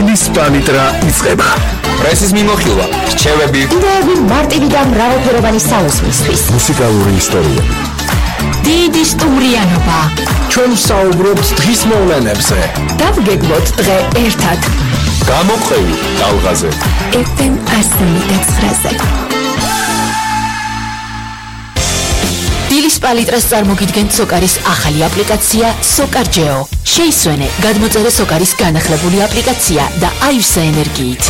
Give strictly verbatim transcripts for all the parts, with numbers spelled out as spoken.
დილის პალიტრა იწყება. პრესის მიმოხილვა, რჩევები, იდეები მარტივი და მრავალფეროვანი საუზმისთვის. მუსიკალური ისტორიები. დიდი სტუმრიანობა. ჩვენ საუბრობთ დღის მოვლენებზე. დავგეგმოთ დღე ერთად. გამოყვევი ტალღაზე. ეფ ემ ასმი და ცხრაზე. დილის პალიტრას წარმოგიდგენთ სოკარის ახალი აპლიკაცია სოკარჯეო. შეისვენე, გადმოწერე სოკარის განახლებული აპლიკაცია და აივსე ენერგიით.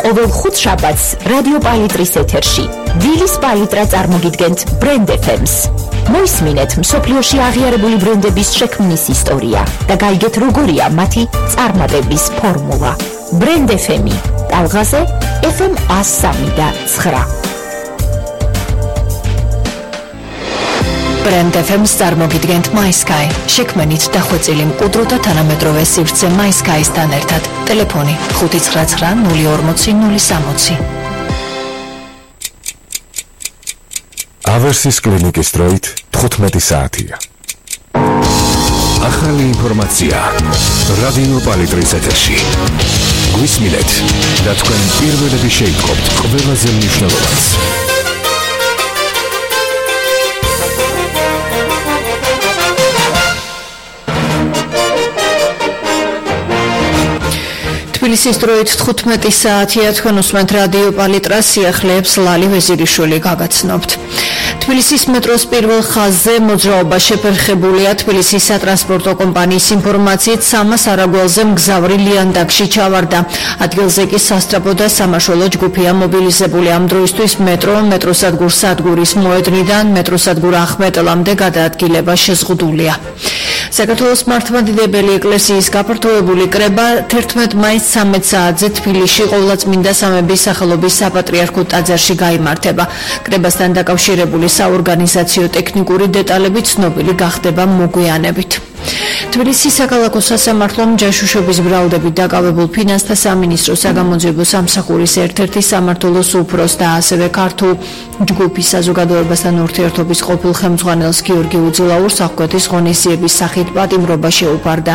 ყოველ ხუთშაბათს რადიო პალიტრის ეთერში დილის პალიტრა წარმოგიდგენთ ბრენდ ეფ ემს. მოისმინეთ მსოფლიოში აღიარებული ბრენდების შექმნის ისტორია და გაიგეთ როგორია მათი წარმატების ფორმულა. ბრენდ ეფ ემი ტალღაზე ეფ ემ ასამი და ცხრა. ბრენდ ეფ ემს წარმოგიდგენთ MySky. შექმნით დახვეწილი მყუდრო და თანამედროვე სივრცე MySky-სთან ერთად. ტელეფონი ხუთი ცხრა ცხრა ნული ორმოცი ნული სამოცი. ავერსის კლინიკის დროით თხუთმეტი საათია. ახალი ინფორმაცია რადიო პალიტრის ეთერში. გვისმინეთ და თქვენ პირველები შეიტყობთ ყველაზე მნიშვნელოვანს. თბილისის დროით თხუთმეტი საათია. თქვენ უსმენთ რადიო პალიტრას, სიახლეებს ლალი ვეზირიშვილი გაგაცნობთ. თბილისის მეტროს პირველ ხაზზე მოძრაობა შეფერხებულია. თბილისის სატრანსპორტო კომპანიის ინფორმაციით სამას არაგველზე მგზავრი ლიანდაგში ჩავარდა. ადგილზე კი სასტრაფო და სამაშველო ჯგუფია მობილიზებული. ამ დროისთვის მეტრო მეტროსადგურ სადგურის მოედნიდან მეტროსადგურ ახმეტელამდე გადაადგილება შეზღუდულია. საქართველოს მართლმადიდებელი ეკლესიის გაფართოებული კრება თერთმეტ მაისს ცამეტ საათზე თბილისში ყოვლადწმინდა სამების სახელობის საპატრიარქო ტაძარში გაიმართება. კრებასთან დაკავშირებული საორგანიზაციო ტექნიკური დეტალები ცნობილი გახდება მოგვიანებით. თბილისის საქალაქო სასამართლომ ჯაშუშობის ბრალდებით დაკავებულ ფინანსთა სამინისტროს საგამოძიებო სამსახურის ერთ-ერთი სამმართველოს უფროს და ასევე ქართულ ჯგუფის საზოგადოებასთან ურთიერთობის ყოფილ ხელმძღვანელს გიორგი უძილაურს აღკვეთის ღონისძიების სახით პატიმრობა შეუფარდა.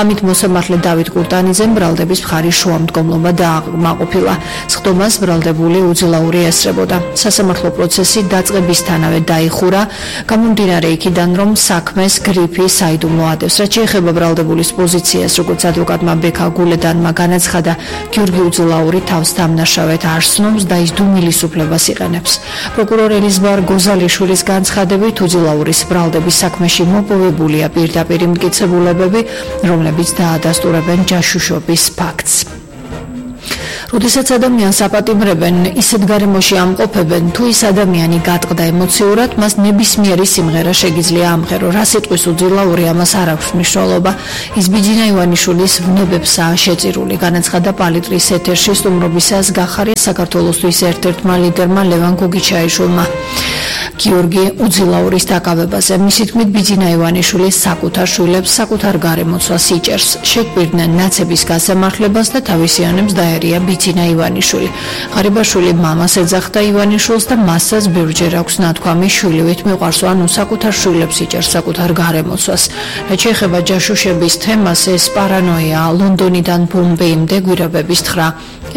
ამით მოსამართლე დავით კურტანიძემ ბრალდების მხარის შუამდგომლობა დააკმაყოფილა. სხდომას ბრალდებული უძილაური ესწრებოდა. სასამართლო პროცესი დაწყებისთანავე დაიხურა, გამომდინარე იქიდან, რომ საქმეს გრიფი საიდუმლო ადევს. რაც შეეხება ბრალდებულის პოზიციას, როგორც ადვოკატმა ბექა გულედანმა განაცხადა, გიორგი უძილაური თავს დამნაშავედ არ სნობს და ის დუმილის უფლებას იყენებს. პროკურორ ელიზბარ გოზალიშვილის განცხადებით, უძილაურის ბრალდების საქმეში მოპოვებულია პირდაპირ მტკიცებულებები, რომლებიც დაადასტურებენ ჯაშუშობის ფაქტს. როდესაც ადამიანს აპატიმრებენ, ისეთ გარემოში ამყოფებენ, თუ ის ადამიანი გატყდა ემოციურად, მას ნებისმიერი სიმღერა შეგიძლია ამღერო. რა სიტყვის უძილაური, ამას არ აქვს მნიშვნელობა. ის ბიჯინა ივანიშვილის ვნებებსაა შეწირული, განაცხადა პალიტრის ეთერში სტუმრობისას გახარია საქართველოსთვის ერთ-ერთმა ლიდერმა ლევან გოგიჩაიშვილმა გიორგი უძილაურის დაკავებაზე. მისი თქმით, ბიჯინა ივანიშვილი საკუთარ შვილებს საკუთარ გარემოცვას იჭერს. შეგვირდნენ ნაცების გასამართლებას და თავისიანებს დაერია ბიჯინა ივანიშვილი. ღარიბაშვილი მამას ეძახდა ივანიშვილს და მასაც ბევრჯერ აქვს ნათქვამი შვილივით მიყვარს, ანუ საკუთარ შვილებს იჭერს საკუთარ გარემოცვას. რაც შეეხება ჯაშუშების თემას, ეს პარანოია ლონდონიდან ბომბეიმდე გვირაბების თხრა.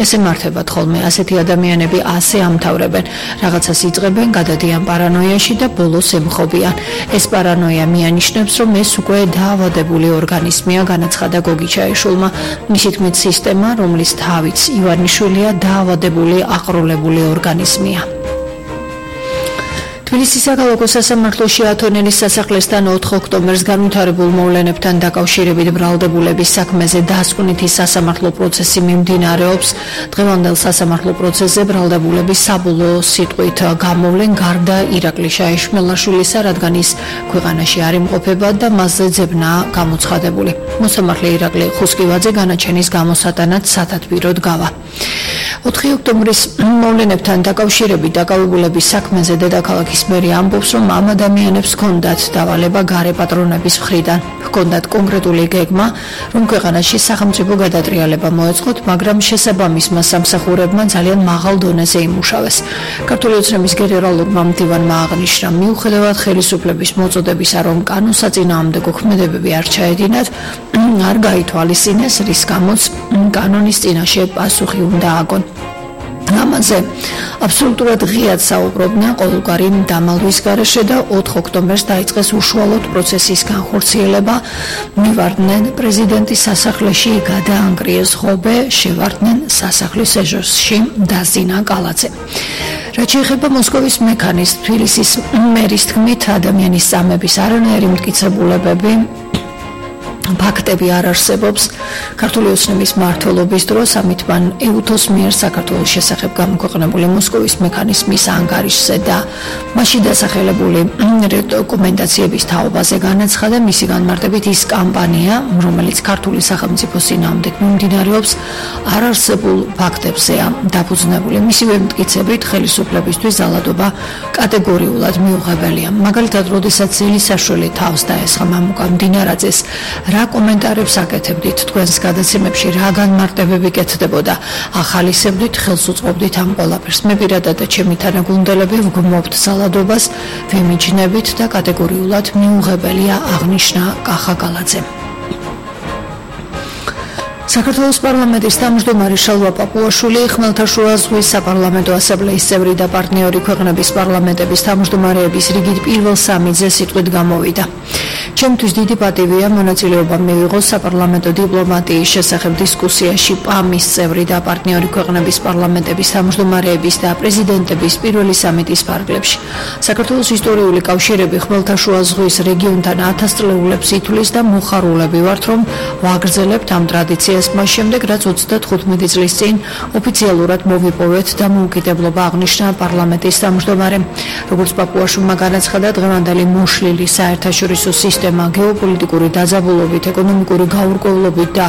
ეს ემართებათ ხოლმე, ასეთი ადამიანები ასე ამთავრებენ, რაღაცას იწყებენ, გადადიან პარანოიაში და ბოლოს ემხობიან. ეს პარანოია მიანიშნებს, რომ ეს უკვე დაავადებული ორგანიზმია, განაცხადა გოგიჩაიშვილმა. მისი თქმით, სისტემა, რომლის თავიც ივანიშვილია, დაავადებული აყროლებული ორგანიზმია. თბილისის საქალაქო სასამართლოში ათონელის სასახლესთან ოთხ ოქტომბერს განვითარებულ მოვლენებთან დაკავშირებით ბრალდებულების საქმეზე დასკვნითი სასამართლო პროცესი მიმდინარეობს. დღევანდელ სასამართლო პროცესზე ბრალდებულები საბოლოო სიტყვით გამოვლენ გარდა ირაკლი შაიშმელაშვილისა, რადგან ის ქვეყანაში არ იმყოფება და მასზე ძებნაა გამოცხადებული. მოსამართლე ირაკლი ხუსკივაძე განაჩენის გამოსატანად სათათბიროდ გავა. ოთხი ოქტომბრის მოვლენებთან დაკავშირებით დაკავებულების საქმეზე დედაქალაქის მერი ამბობს, რომ ამ ადამიანებს ჰქონდათ დავალება გარე პატრონების მხრიდან. ჰქონდათ კონკრეტული გეგმა, რომ ქვეყანაში სახელმწიფო გადატრიალება მოეწყოთ, მაგრამ შესაბამისმა სამსახურებმა ძალიან მაღალ დონეზე იმუშავეს. ქართული ოცნების გენერალურმა მდივანმა აღნიშნა, მიუხედავად ხელისუფლების მოწოდებისა, რომ კანონსაწინააღმდეგო ქმედებები არ ჩაედინათ, არ გაითვალისწინეს, რის გამოც კანონის წინაშე პასუხი უნდა აგონ. ამაზე აბსოლუტურად ღიად საუბრობდნენ ყოველგვარი დამალვის გარეშე და ოთხ ოქტომბერს დაიწყეს უშუალოდ პროცესის განხორციელება. მივარდნენ პრეზიდენტის სასახლეში გადაანგრიეს ღობე, შევარდნენ სასახლის ეჟოსში დაზინა კალაძე. რაც შეეხება მოსკოვის მექანის თბილისის მერის თქმით, ადამიანის წამების არანაირი მტკიცებულებები ფაქტები არ არსებობს. ქართული ოცნების მმართველობის დროს ამით მან ეუთოს მიერ საქართველოს შესახებ გამოქვეყნებული მოსკოვის მექანიზმის ანგარიშზე და მასში დასახელებული რეკომენდაციების თაობაზე განაცხადა მისი განმარტებით ის კამპანია, რომელიც ქართული სახელმწიფოს წინააღმდეგ მიმდინარეობს, არ არსებულ ფაქტებზეა დაფუძნებული. მისივე მტკიცებით ხელისუფლებისთვის ძალადობა კატეგორიულად მიუღებელია. მაგალითად, როდესაც ძილისაშვილი თავს დაესხა მამუკა მდინარაძეს, რა კომენტარებს აკეთებდით თქვენს გადაცემებში, რა განმარტებები კეთდებოდა, ახალისებდით, ხელს უწყობდით ამ ყველაფერს. მე პირადად და ჩემი თანაგუნდელები ვგმობთ ძალადობას, ვიმიჯნებით და კატეგორიულად მიუღებელია, აღნიშნა კახა კალაძემ. საქართველოს პარლამენტის თავმჯდომარე შალვა პაპუაშვილი, ხმელთაშუა ზღვის საპარლამენტო ასამბლეის წევრი და პარტნიორი ქვეყნების პარლამენტების თავმჯდომარეების რიგით პირველ სამიძე სიტყვით გამოვიდა. ჩემთვის დიდი პატივია მონაწილეობა მივიღო საპარლამენტო დიპლომატიის შესახებ დისკუსიაში პამის წევრი და პარტნიორი ქვეყნების პარლამენტების თავმჯდომარეების და პრეზიდენტების პირველი სამიტის ფარგლებში. საქართველოს ისტორიული კავშირები ხმელთაშუა ზღვის რეგიონთან ათასწლეულებს ითვლის და მოხარულები ვართ, რომ ვაგრძელებთ ამ ტრადიციას მას შემდეგ, რაც ოცდათხუთმეტი წლის წინ ოფიციალურად მოვიპოვეთ და მოუკიდებლობა აღნიშნა პარლამენტის თავმჯდომარემ. როგორც პაპუაშვილმა განაცხადა, დღევანდელი მოშლილი საერთაშორისო სისტემა გეოპოლიტიკური დაძაბულობით, ეკონომიკური გაურკვევლობით და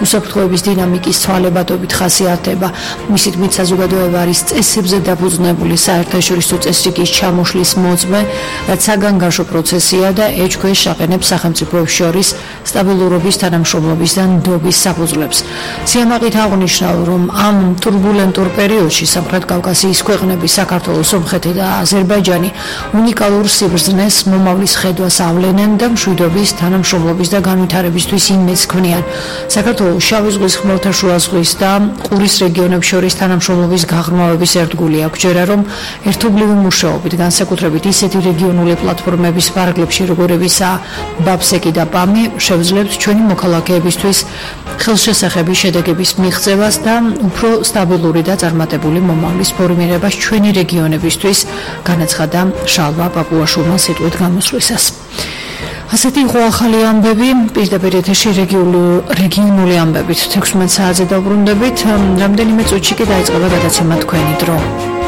უსაფრთხოების დინამიკის ცვალებადობით ხასიათდება. მისი თქმით, საზოგადოება არის წესებზე დაფუძნებული საერთაშორისო წესრიგის ჩამოშლის მოწმე, რაც საგანგაშო პროცესია და ეჭქვეშ აყენებს სახელმწიფოებს შორის სტაბილურობის, თანამშრომლობის და ნდობის საფუძვლებს. სიამაყით აღნიშნა, რომ ამ ტურბულენტურ პერიოდში სამხრეთ კავკასიის ქვეყნები, საქართველო, სომხეთი და აზერბაიჯანი უნიკალურ სიბრძნეს მომავლის ხედვას ავლენენ და მშვიდობის, თანამშრომლობის და განვითარებისთვის იმედს ქმნიან. საქართველოს შავი ზღვის, ხმელთაშუა ზღვის და ყურის რეგიონებს შორის თანამშრომლობის გაღრმავების ერთგული აქვს. ჯერა რომ ერთობლივი მუშაობით, განსაკუთრებით ისეთი რეგიონული პლატფორმების ფარგლებში, როგორებიცაა ბაბსეკი და პამი, შევძლებთ ჩვენი მოქალაქეებისთვის ხელშესახების შედეგების მიღწევას და უფრო სტაბილური და წარმატებული მომავლის ფორმირებას ჩვენი რეგიონებისთვის, განაცხადა შალვა პაპუაშვილმა სიტყვით გამოსვლისას. ასეთი იყო ახალი ამბები, პირდაპირ ეთერში რეგიონული ამბებით. თექვსმეტ საათზე დავბრუნდებით, რამდენიმე წუთში კი დაიწყება გადაცემა თქვენი დრო.